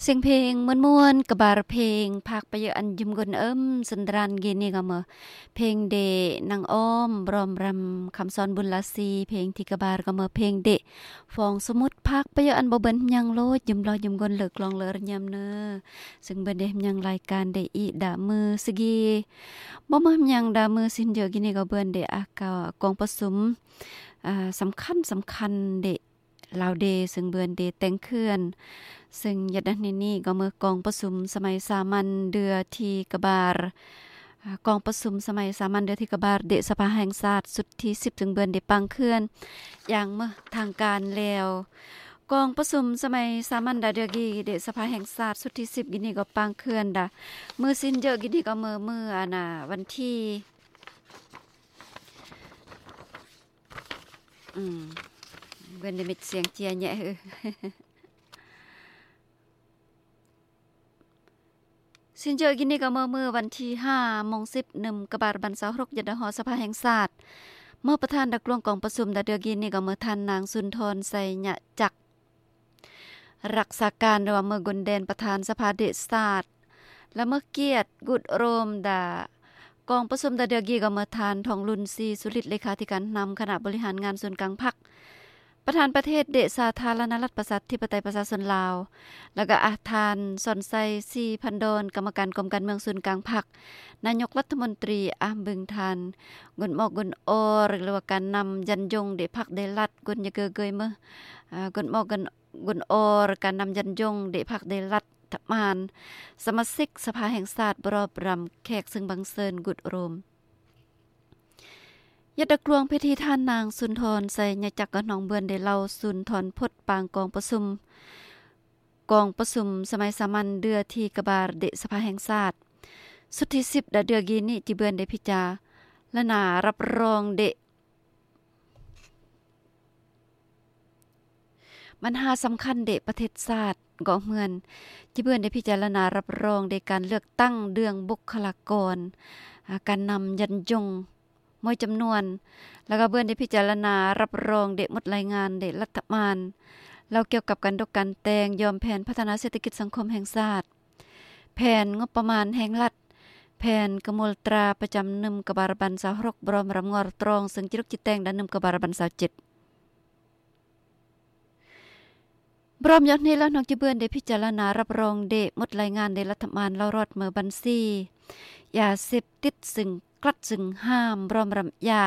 ສຽງເພງມ່ວນໆ ກະບານເພງ ພາກປະເຍອະອັນຢືມກົ້ນເອີມ ສະດານກີນີ້ກໍເມີ ເພງເດ ນາງອ້ອມ ບຣອມຣຳ ຄຳສອນ ບຸນລາຊີ ເພງທີ່ກະບານກໍເມີ ເພງເດ ຟອງສະໝຸດ ພາກປະເຍອະອັນບໍ່ເບິ່ນຫຍັງໂລດ ຢືມລໍຢືມກົ້ນ ເລີກລອງເລີກຍາມເນີ ຊຶ່ງເບິ່ນໄດ້ຫຍັງລາຍການໄດ້ອີດາມືສະກີ ບໍ່ເມີຫຍັງດາມືຊິນເຍອະກີນີ້ກໍເບິ່ນໄດ້ອາກາກອງປະຊຸມ ອາ ສຳຄັນ ສຳຄັນເດ ລາວເດ ຊຶ່ງເບິ່ນເດແຕ່ງເຂື່ອນ ຊຶ່ງຍາດນັ້ນນີ້ກໍເມີກອງປະຊຸມສະໄໝສາມັນເດືອທີ່ກະບານ ອາ ກອງປະຊຸມສະໄໝສາມັນເດືອທີ່ກະບານເດສະພາແຫ່ງຊາດຊຸດທີສິບ ຊຶ່ງເບິ່ນເດປາງເຂື່ອນຢ່າງເມີທາງການແລ້ວ ກອງປະຊຸມສະໄໝສາມັນດາເດືອກີເດສະພາແຫ່ງຊາດຊຸດທີສິບກີນີ້ກໍປາງເຂື່ອນດາ ມື້ຊິນເຍອະກີນີ້ກໍເມີ ມື້ອັນນາ ວັນທີ ອືມ ເບິ່ງໄດ້ມິດສຽງເຈຍແຍະ ຊິນເຈີກິນນີ້ກໍເມື່ອມື້ວັນທີຫ້າໂມງສິບ ໜຶ່ງກະບານບັນຊາວຫົກ ຍັດດະຫໍສະພາແຫ່ງຊາດ ເມື່ອປະທານດັກຫຼວງກອງປະຊຸມດາເດືອກິນນີ້ກໍເມື່ອທ່ານນາງສຸນທອນ ໄຊຍະຈັກ ລັກສາການ ຫຼືວ່າເມືອກຸນແດນ ປະທານສະພາເດຊາດ ລະເມີກຽດກຸດໂຣມດາ ກອງປະຊຸມດາເດືອກີກໍເມີທ່ານ ທອງລຸນ ສີສຸລິດ ເລຂາທິການນຳຄະນະບໍລິຫານງານສູນກາງພັກ ປະທານປະເທດເດຊາທາລະນະລັດ ປະຊາທິປະໄຕ ປະຊາຊົນລາວ ລະກະອາ ທ່ານ ສອນໄຊ ສີພັນດອນ ກຳມະການກົມການເມືອງສູນກາງພັກ ນາຍົກລັດຖະມົນຕີ ອາ ເບິ່ງທ່ານ ກຸນໝອກກຸນອໍ ຫຼືວ່າການນຳຢັນຍົງເດພັກເດລັດ ກຸນຍະເກີເກີຍເມີ ອາ ກຸນໝອກກຸນ ກຸນອໍ ການນຳຢັນຍົງເດພັກເດລັດຖະບານ ສະມາຊິກສະພາແຫ່ງຊາດ ບຣອບຣຳແຂກເຊິ່ງບັງເຊີນກຸດໂຣມ ຍັດດະກລວງພິທີ ທ່ານນາງ ສຸນທອນ ໄຊຍະຈັກ ກະນ້ອງເບືອນ ໄດ້ເລົ່າສູນຖອນພົດປາງກອງປະຊຸມ ກອງປະຊຸມສະໄໝສາມັນເດືອທີກະບານເດສະພາແຫ່ງຊາດ ຊຸດທີສິບ ດາເດືອກີນີ້ ຈິເບືອນໄດ້ພິຈາລະນາຮັບຮອງເດ ບັນຫາສຳຄັນເດປະເທດຊາດ ເກາະເຮືອນ ຈິເບືອນໄດ້ພິຈາລະນາຮັບຮອງເດການເລືອກຕັ້ງເລື່ອງບຸກຄະລາກອນ ອາ ການນຳຢັນຍົງ ໝົດຈຳນວນ ລະກະເບືອນໄດ້ພິຈາລະນາຮັບຮອງເດໝົດລາຍງານເດລັດຖະບານ ລາວກ່ຽວກັບການຕົກການແຕ່ງ ຍອມແຜນພັດທະນາເສດຖະກິດສັງຄົມແຫ່ງຊາດ ແຜນງົບປະມານແຫ່ງລັດ ແຜນກະມວນຕາປະຈຳໜຶ່ງກະບານບັນຊາວຫົກ ບຣອມຣຳງໍຕຣອງ ເຊິ່ງຈິລົກຈິແຕງດາໜຶ່ງກະບານບັນຊາວເຈັດ ບຣອມຢອດນີ້ລະ ນ້ອງຈິເບືອນໄດ້ພິຈາລະນາຮັບຮອງເດໝົດລາຍງານເດລັດຖະບານ ລາວຮອດເມີບັນຊີ ຢາເສບຕິດ ຊຶ່ງ ກລັດ ຊຶ່ງຫ້າມ ບຣອມຣຳຢາ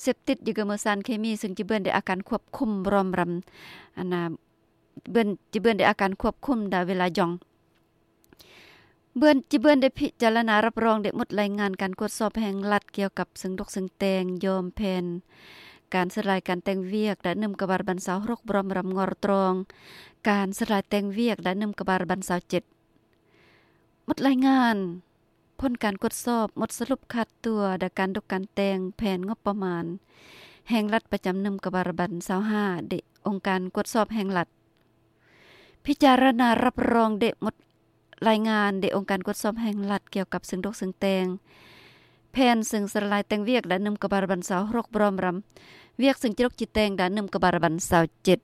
ເສບຕິດ ຢາເກີເມີສານເຄມີ ຊຶ່ງຈິເບືອນໄດ້ອາການຄວບຄຸມ ບຣອມຣຳ ອັນນາ ເບືອນ ຈິເບືອນໄດ້ອາການຄວບຄຸມດາເວລາຢອງ ເບືອນ ຈິເບືອນໄດ້ພິຈາລະນາຮັບຮອງເດໝົດລາຍງານການກວດສອບແຫ່ງລັດ ກ່ຽວກັບເຊິ່ງດົກເຊິ່ງແຕ່ງ ຍອມແຜນການສະຫຼາຍການແຕ່ງວຽກ ດາໜຶ່ງກະບານບັນຊາວຫົກ ບຣອມຣຳງໍຕຣອງ ການສະຫຼາຍແຕ່ງວຽກ ດາໜຶ່ງກະບານບັນຊາວເຈັດ ໝົດລາຍງານ ຜົນການກວດສອບ ໝົດສະຫຼຸບຄາດຕົວ ດາການດົກການແຕ່ງ ແຜນງົບປະມານແຫ່ງລັດປະຈຳໜຶ່ງກະບານບັນຊາວຫ້າ ເດອົງການກວດສອບແຫ່ງລັດ ພິຈາລະນາຮັບຮອງເດໝົດລາຍງານເດອົງການກວດສອບແຫ່ງລັດ ກ່ຽວກັບເຊິ່ງດົກເຊິ່ງແຕ່ງ ແຜນເຊິ່ງສະຫຼາຍແຕ່ງວຽກ ດາໜຶ່ງກະບານບັນຊາວຫົກ ບຣອມຣຳວຽກເຊິ່ງຈິລົກຈິແຕງ ດາໜຶ່ງກະບານບັນຊາວເຈັດ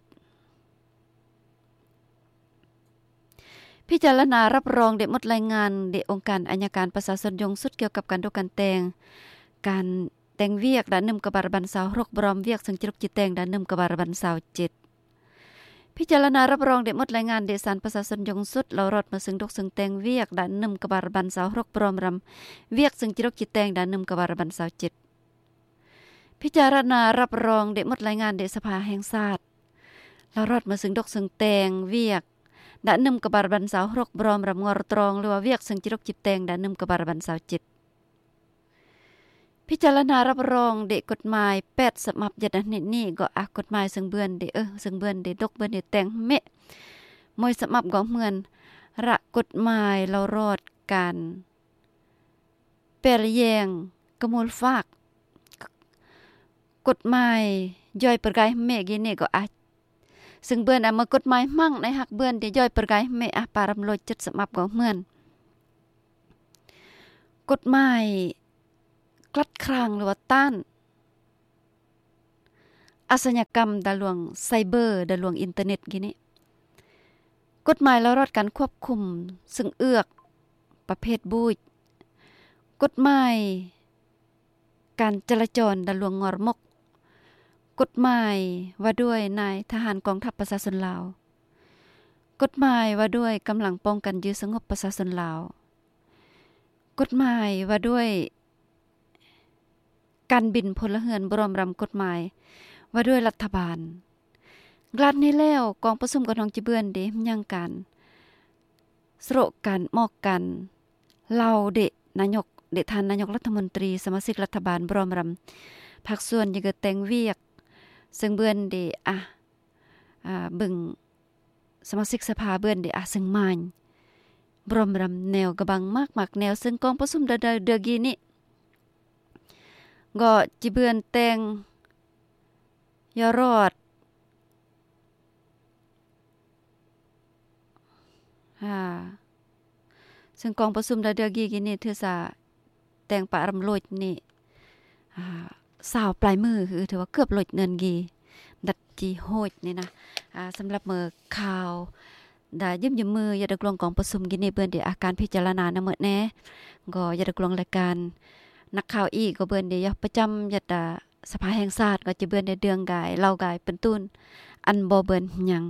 ພິຈາລະນາຮັບຮອງເດໝົດລາຍງານເດອົງການໄອຍະການປະຊາຊົນສູງສຸດ ກ່ຽວກັບການດົກການແຕ່ງ ການແຕ່ງວຽກ ດາໜຶ່ງກະບານບັນຊາວຫົກ ບຣອມວຽກເຊິ່ງຈິລົກຈິແຕງ ດາໜຶ່ງກະບານບັນຊາວເຈັດ ພິຈາລະນາຮັບຮອງເດໝົດລາຍງານເດສານປະຊາຊົນສູງສຸດ ລາວຮອດເມີເຊິ່ງດົກເຊິ່ງແຕ່ງວຽກ ດາໜຶ່ງກະບານບັນຊາວຫົກ ບຣອມຣຳວຽກເຊິ່ງຈິລົກຈິແຕງ ດາໜຶ່ງກະບານບັນຊາວເຈັດ ພິຈາລະນາຮັບຮອງເດໝົດລາຍງານເດສະພາແຫ່ງຊາດ ລາວຮອດເມີເຊິ່ງດົກເຊິ່ງແຕ່ງວຽກ ດາໜຶ່ງກະບານບັນຊາວຫົກ ບຣອມຣຳງໍຕຣອງ ຫຼືວ່າວຽກເຊິ່ງຈິລົກຈິແຕງ ດາໜຶ່ງກະບານບັນຊາວເຈັດ ພິຈາລະນາຮັບຮອງເດກົດໝາຍແປດສະບັບ ຍັດອາທິດນີ້ກໍອາ ກົດໝາຍເຊິ່ງເບືອນເດ ເອີ ເຊິ່ງເບືອນເດດົກ ເບືອນເດແຕ່ງເມ ມວຍສະບັບກໍເໝືອນ ລະກົດໝາຍລາວຮອດການ ແປລະແຍງ ກະມູນຟາກ ກົດໝາຍຍ່ອຍປະກາຍເມ ກີເນກໍອາ ເຊິ່ງເບືອນອາ ມາກົດໝາຍໝັ້ງໃນຮັກເບືອນເດຍ່ອຍປະກາຍເມ ອາ ປາຣຳໂລດເຈັດສະບັບກໍເໝືອນ ກົດໝາຍ ກລັດຄຣາງ ຫຼືວ່າຕ້ານ ອາຊຍາກຳດາລວງໄຊເບີ ດາລວງອິນເຕີເນັດກີ້ນີ້, ກົດໝາຍລະລອດການຄວບຄຸມເຊິ່ງເອືອກປະເພດບູດ, ກົດໝາຍການຈະລາຈອນດາລວງງອຣະມົກ, ກົດໝາຍວ່າດ້ວຍນາຍທະຫານກອງທັບປະຊາຊົນລາວ, ກົດໝາຍວ່າດ້ວຍກຳລັງປ້ອງກັນຢື້ສະຫງົບປະຊາຊົນລາວ, ກົດໝາຍວ່າດ້ວຍ ການບິນພົນລະເຮືອນ ພ້ອມນຳກົດໝາຍວ່າດ້ວຍລັດຖະບານ. ການນີ້ແລ້ວ ກອງປະຊຸມກະນອງຈີເບືອນເດ ຍັງການສະໂລການ ມອກການເລົ່າເດ ນາຍົກເດ ທ່ານນາຍົກລັດຖະມົນຕີ, ສະມາຊິກລັດຖະບານ ພ້ອມນຳພາກສ່ວນ ຍັງກະແຕ່ງວຽກ ເຊິ່ງເບືອນເດ ອາ ອາ ເບິ່ງ ສະມາຊິກສະພາເບືອນເດ ອາ ເຊິ່ງມາຍ ພ້ອມນຳແນວກະບັງມາກໆແນວ ເຊິ່ງກອງປະຊຸມດາ ດາ ເດືອກີນີ້ ກໍຈີເບືອນແຕ່ງຢໍລອດ ອາ ເຊິ່ງກອງປະຊຸມດາ ເດືອກີນີ້ ຖືສາແຕ່ງປະອາຣຳໂລດນີ້ ອາ ຊາວປາຍມື້ ຄືຖືວ່າເກືອບໂລດເນີນກີ ດັດຈີໂຮດນີ້ນະ. ອາ ສຳລັບມື້ຂ່າວດາຢ້ຽມຢາມມື້ ຢາດດັກລວງກອງປະຊຸມກີນີ້ ເບືອນເດ ອາ ການພິຈາລະນານຳໝົດແນ່ ກໍຢາດດັກລວງລາຍການນັກຂ່າວອີກ ກໍເບືອນເດ ຢາກປະຈຳ ຢາດ ອາ ສະພາແຫ່ງຊາດ ກໍຈະເບືອນເດ ເດືອງກາຍ ເລົ່າກາຍ ເປັນຕົ້ນ ອັນບໍ່ເບືອນຫຍັງ.